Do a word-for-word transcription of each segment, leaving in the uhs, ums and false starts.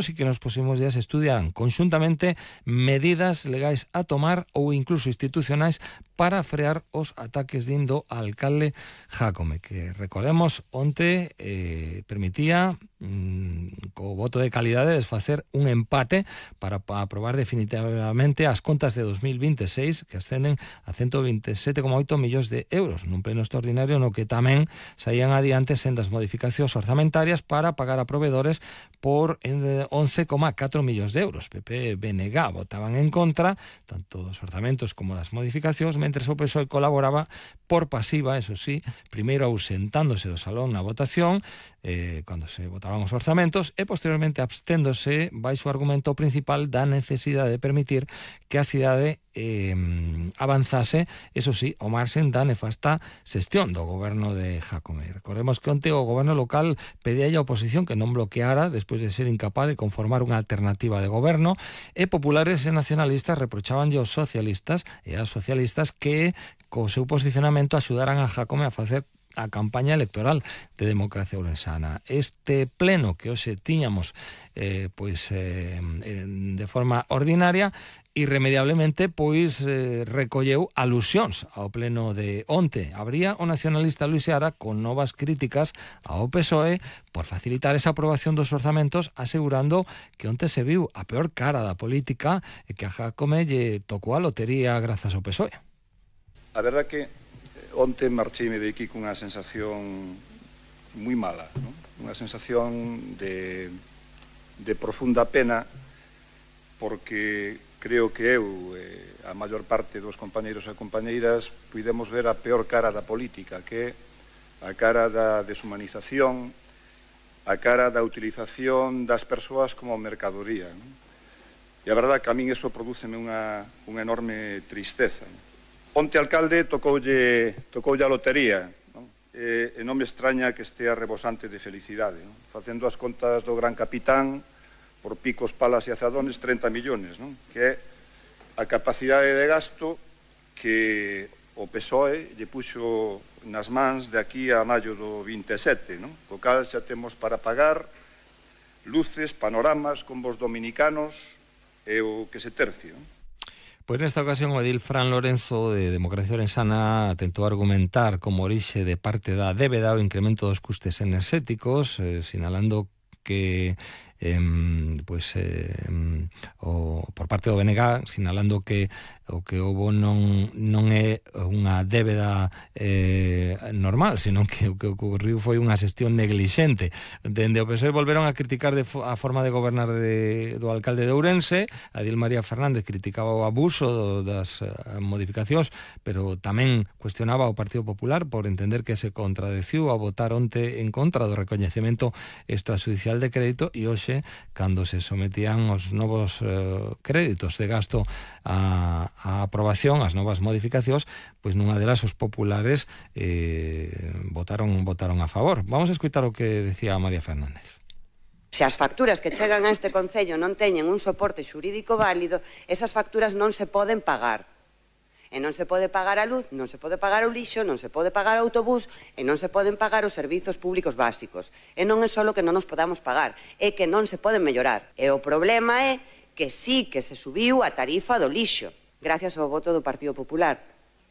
e que nos próximos días estudiarán conxuntamente medidas legais a tomar ou incluso institucionais para frear os ataques dindo alcalde Jácome, que recordemos onte eh, permitía mm, co voto de calidade desfacer un empate para, para aprobar definitivamente as contas de dos mil veintiséis, que ascenden a ciento veintisiete coma oito millóns de euros nun pleno extraordinario no que tamén saían adiante sendas modificacións orzamentarias para pagar a proveedores por once coma catro millóns de euros. P P e B N G votaban en contra tanto dos orzamentos como das modificacións, mentre o P S O E colaboraba por pasiva, eso sí, primeiro ausentándose do salón na votación eh, cando se votaban os orzamentos e posteriormente absténdose baixo o argumento principal da necesidade de permitir que a cidade eh, avanzase, eso sí, ao marxen da nefasta xestión do goberno de Jácome. Recordemos que onte o goberno local pedía a oposición que non bloqueara despois de ser incapaz de conformar unha alternativa de goberno, e populares e nacionalistas reprochábanlle aos socialistas e ás socialistas que co seu posicionamento axudaran a Jácome a facer a campaña electoral de Democracia Ourensana. Este pleno que hoxe tiñamos eh, pois eh, de forma ordinaria irremediablemente pois eh, recolleu alusións ao pleno de onte. Habría o nacionalista Luis Seara con novas críticas ao P S O E por facilitar esa aprobación dos orzamentos, asegurando que onte se viu a peor cara da política e que a Jácome lle tocou a lotería grazas ao P S O E. A verdad que onte marcheime de aquí cunha sensación moi mala, ¿no? Unha sensación de, de profunda pena, porque creo que eu, eh, a maior parte dos compañeiros e compañeiras, puidemos ver a peor cara da política, que é a cara da deshumanización, a cara da utilización das persoas como mercadoría, ¿no? E a verdade que a min eso prodúceme unha, unha enorme tristeza, ¿no? Onte alcalde tocoulle, tocoulle a lotería, non? E, e non me extraña que estea rebosante de felicidade, non? Facendo as contas do gran capitán, por picos, palas e azadones, trinta millóns, non? Que é a capacidade de gasto que o P S O E lle puxo nas mans de aquí a maio do vinte e sete, non? Co cal xa temos para pagar luces, panoramas, combos dominicanos e o que se tercio, non? Pois nesta ocasión o edil Fran Lorenzo de Democracia Ourensana tentou argumentar como orixe de parte da débeda o incremento dos custes enerxéticos, eh, sinalando que eh, pois, eh, o, por parte do B N G, sinalando que o que houbo non, non é unha débeda eh, normal, senón que o que ocorriu foi unha xestión neglixente. Dende o P S O E volveron a criticar de fo, a forma de gobernar de, do alcalde de Ourense. Adil María Fernández criticaba o abuso do, das uh, modificacións, pero tamén cuestionaba o Partido Popular por entender que se contradeciu a votar onte en contra do recoñecemento extrajudicial de crédito, e hoxe, cando se sometían os novos uh, créditos de gasto a a aprobación, as novas modificacións, pois nunha delas os populares eh, votaron votaron a favor. Vamos a escutar o que decía María Fernández. Se as facturas que chegan a este Concello non teñen un soporte xurídico válido, esas facturas non se poden pagar. E non se pode pagar a luz, non se pode pagar o lixo, non se pode pagar o autobús, e non se poden pagar os servizos públicos básicos. E non é só que non nos podamos pagar, é que non se poden mellorar. E o problema é que sí que se subiu a tarifa do lixo, gracias ao voto do Partido Popular,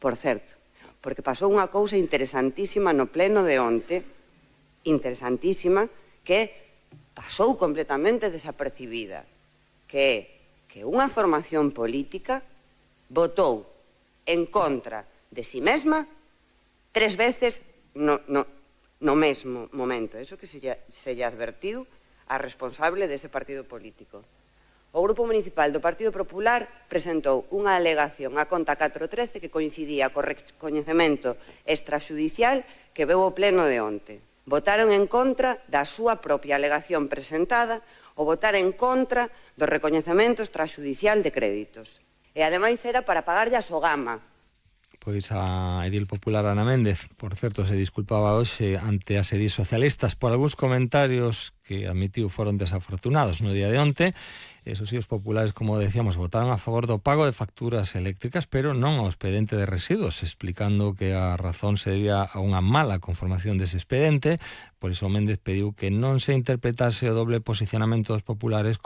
por certo, porque pasou unha cousa interesantísima no pleno de onte, interesantísima, que pasou completamente desapercibida, que é que unha formación política votou en contra de si mesma tres veces no, no, no mesmo momento. Eso que se lle, se lle advertiu a responsable dese partido político. O Grupo Municipal do Partido Popular presentou unha alegación á conta catro trece que coincidía co recoñecemento extrajudicial que veu o pleno de onte. Votaron en contra da súa propia alegación presentada ou votar en contra do recoñecemento extrajudicial de créditos. E ademais era para pagarlle a Sogama. Pois a edil popular Ana Méndez, por certo, se disculpaba hoxe ante as edis socialistas por algúns comentarios que admitiu foron desafortunados no día de onte. Esos sí, os populares, como decíamos, votaron a favor do pago de facturas eléctricas, pero non ao expediente de residuos, explicando que a razón se debía a unha mala conformación dese expediente. Por iso Méndez pediu que non se interpretase o doble posicionamento dos populares